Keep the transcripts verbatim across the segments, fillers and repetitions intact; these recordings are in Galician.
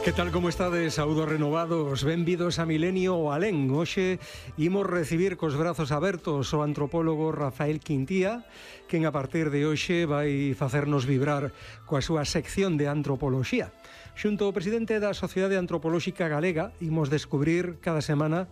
Que tal, como estades? Saúdos renovados, benvidos a Milenio o Alén. Hoxe imos recibir cos brazos abertos o antropólogo Rafael Quintía, quen a partir de hoxe vai facernos vibrar coa súa sección de antropoloxía. Xunto ao presidente da Sociedade Antropolóxica Galega, imos descubrir cada semana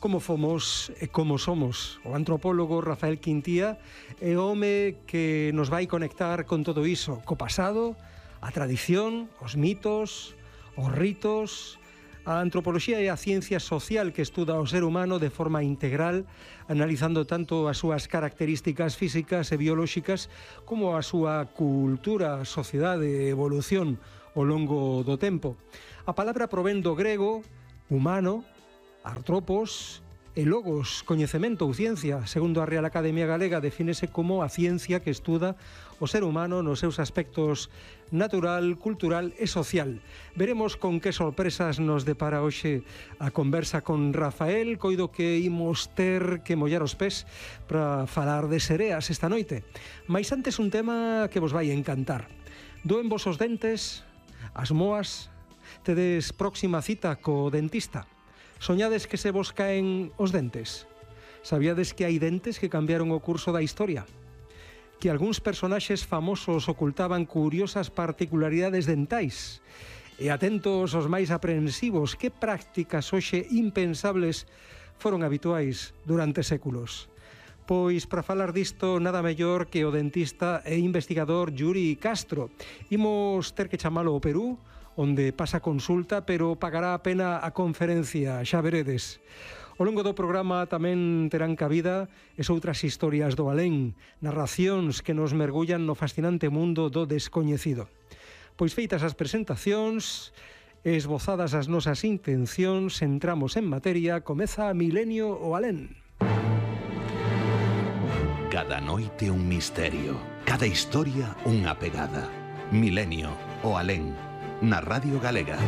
como fomos e como somos. O antropólogo Rafael Quintía é o home que nos vai conectar con todo iso, co pasado, a tradición, os mitos, os ritos. A antropoloxía é a ciencia social que estuda o ser humano de forma integral, analizando tanto as súas características físicas e biolóxicas como a súa cultura, sociedade e evolución ao longo do tempo. A palabra provén do grego humano, artropos, e logos, coñecemento ou ciencia. Segundo a Real Academia Galega, defínese como a ciencia que estuda o ser humano nos seus aspectos natural, cultural e social. Veremos con que sorpresas nos depara hoxe a conversa con Rafael. Coido que imos ter que mollar os pés para falar de sereas esta noite. Mais antes un tema que vos vai encantar. Doen vos os dentes, as moas, tedes próxima cita co dentista. Soñades que se vos caen os dentes? Sabíades que hai dentes que cambiaron o curso da historia? Que algúns personaxes famosos ocultaban curiosas particularidades dentais? E atentos os máis aprensivos, que prácticas hoxe impensables foron habituais durante séculos? Pois, para falar disto, nada mellor que o dentista e investigador Yuri Castro. Imos ter que chamalo ao Perú, onde pasa consulta, pero pagará a pena a conferencia, xa veredes. Ao longo do programa tamén terán cabida es outras historias do alén, narracións que nos mergullan no fascinante mundo do descoñecido. Pois feitas as presentacións, esbozadas as nosas intencións, entramos en materia, comeza Milenio o Alén. Cada noite un misterio, cada historia unha pegada. Milenio o Alén, na Radio Galega.